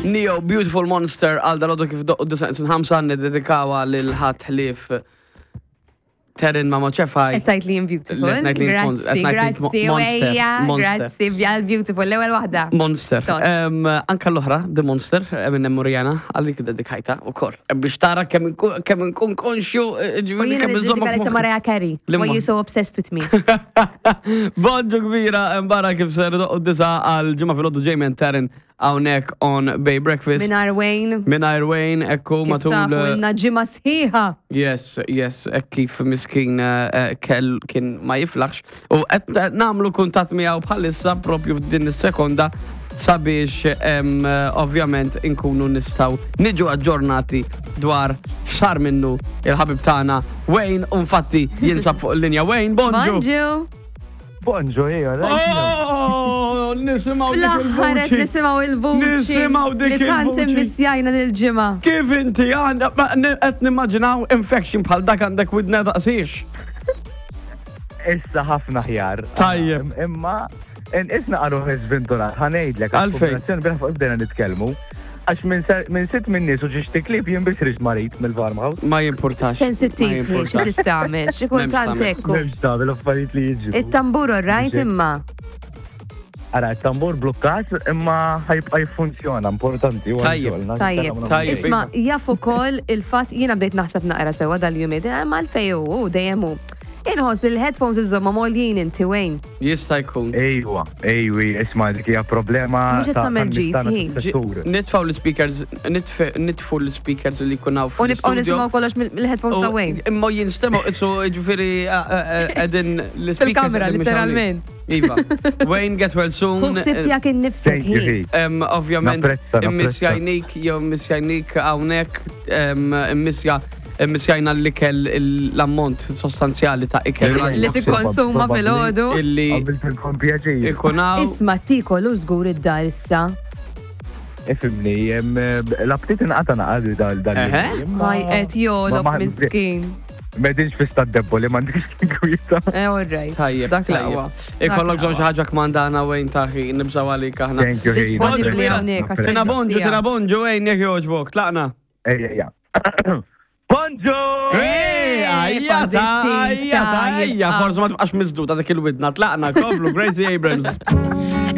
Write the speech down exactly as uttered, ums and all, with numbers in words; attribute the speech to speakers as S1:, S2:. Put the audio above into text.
S1: Ne-Yo Beautiful Monster għal dalgħodu kif doqqu disgħa ħamsa niddedikawha lil ħadd ħlief Terin ma moċefaj.
S2: Qed tgħid li jien beautiful.
S1: Qed ngħid li jien mon-
S2: Grazzi,
S1: qed ngħid li jien
S2: grazzi,
S1: monster,
S2: ejja,
S1: monster.
S2: grazzi, bjal beautiful, l-ewwel waħda.
S1: Monster.
S2: Tot.
S1: Em, Anka l-oħra, The Monster, minn Murjana, għalik dedikajta u kor. Biex tara kemm inkun kemm inkun konxju, eh,
S2: U
S1: ġifieri
S2: jiena
S1: kemm
S2: niddedika
S1: inżommok
S2: li ta' Mariah Carey.
S1: Limma.
S2: Why you so obsessed with me?
S1: Bonġu kbira, mbara kif ser doqqu disgħa għal ġimgħa filgħodu Jamie and Taryn hawnhekk on Bay Breakfast.
S2: Mingħajr Wayne.
S1: Mingħajr Wayne, ekku
S2: Kif
S1: matul.
S2: tafu ilna ġimgħa sħiħa.
S1: Yes, yes, ek kif miskin eh, eh, kell kien ma jiflaħx. U qed nagħmlu kuntatt miegħu bħalissa propju f'din is-sekonda sabiex em, eh, ovvjament inkunu nistgħu niġu aġġornati dwar x'sar minnu il-ħabib tagħna Wayne u infatti jinsab fuq il-linja. Wayne, bonġu.
S2: Bonġu.
S3: Bonġu, ejja,
S1: Oh, nisimgħu dik
S2: Fl-aħħar qed
S1: il-vuċi.
S2: nisimgħu il-vuċi.
S1: Nisimgħu dik
S2: Li tant
S1: il-vuċi.
S2: immissjajna dil-ġimgħa.
S1: Kif inti għandha, qed nimmaġinaw infection bħal dak għandek widna daqsix.
S3: Issa ħafna ħjar.
S1: Tajjeb.
S3: Imma, isna għaru sventurat, ħa ngħidlek.
S1: Għalfejn?
S3: Kombinazzjoni bira fuq bdejna nitkellmu. Għax minn ser- minn sitt minn nies u ġiex tiklib jien biss riġ marit mill-farmhouse.
S1: Ma jimpurtax.
S2: Sensittiv
S1: Ma
S2: li xi
S1: jimpurtax.
S2: trid tagħmel, xi kultant
S1: M'hemmx
S2: ekku.
S3: M'hemmx tagħmel affarijiet li jiġu.
S2: It-tambur rajt imma.
S3: Ara, it-tambur blokkat imma ħa jibqa' jiffunzjona, importanti. huwa
S1: Tajjeb.
S3: xogħol,
S2: Tajjeb.
S1: Tajjeb.
S2: Isma, jaf ukoll il-fatt jiena bdejt naħseb naqra sewwa dal-jumien, eh, ma l-fej hu dejjem hu. Inħoss il-headphones iżomma mgħoljin inti Wayne.
S1: Jista' jkun.
S3: Ejwa, ejwi, isma' dik hija problema.
S2: Mhux qed
S3: ta'
S2: tagħmel ġid,
S3: tan-nies tagħna
S2: hi.
S3: fis-settur.
S1: Nitfaw l-speakers, nitfe- nitfu l-speakers li jkun hawn
S2: U nibqgħu
S1: fl-studio.
S2: nisimgħu kollox mill-headphones ta' Wayne.
S1: Imma jinstemaw, isu ġifieri qegħdin l-speakers.
S2: Fil-kamra,
S1: qegħdin mhux
S2: literalment.
S1: hawnhekk. Iva. Wayne, get well soon.
S2: Ħu ħsieb tiegħek innifsek
S3: Thank you,
S2: hi.
S3: hi.
S1: Em, Ovvjament,
S3: Napprezza, napprezza.
S1: immissjajnik, jew immissjajnik hawnhekk, em, immissja immissjajna l-ikel l-ammont sostanzjali ta' ikel
S2: Li tikkonsuma filgħodu.
S1: illi
S3: Għamiltilkom pjaċir.
S1: ikun hawn.
S2: Isma' tikol u żgur id-dar issa.
S3: Ifhimni, jem, l-aptit inqata naqadu dal dal.
S1: Eħe.
S2: Maj qed jolok
S3: Ma- ma-
S2: miskin.
S3: M'qegħdinx fi stat deboli, m'għandix kwieta.
S2: Eh, all right.
S1: Tajjeb,
S2: Dak
S1: tajjeb.
S2: l-aqwa.
S1: Ikollok
S2: Dak
S1: bżonn xi ħaġa kmandana Wayne taħi, nibżaw għalik aħna.
S3: Thank you, hi.
S2: Disponibbli
S1: Bonġu,
S2: hawnhekk għas
S1: Tina bonġu, tina bonġu, Wayne, jekk jogħġbok, tlaqna.
S3: Ejja, ejja. Bonġu!
S1: Ej, ajja,
S2: pożittiv,
S1: ajja,
S2: tajjeb.
S1: ajja, forsi ma tibqax miżduta dik il-widna, tlaqna, komplu, Gracie Abrams.